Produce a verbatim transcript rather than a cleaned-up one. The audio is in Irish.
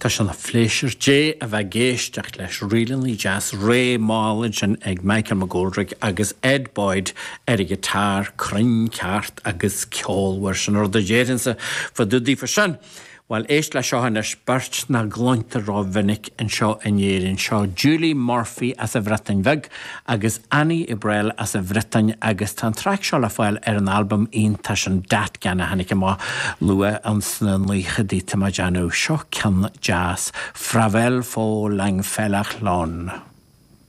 Tá sé ina phléisiúr Dé a bheith ag éisteacht leis ríleanna deas réidh mall ansin ag Michael McGoldrick agus Ed Boyd ar an ghiotár cruinn ceart agus ceolmhar sin rud a déarfainnse fá dtaobh daofa sin. Well éist le seo anois beirt nach gcluintear rómhinic anseo in Éirinn seo Julie Murphy as an Bhreatain Bheag agus Annie Ibrel as an Bhriotáin agus tá an traic seo le fáil ar an albam iontach sin Datgan a tháinig amach luath sna naochadaí tá mé ag déanamh seo ceann deas Fravel fó lang felach lon.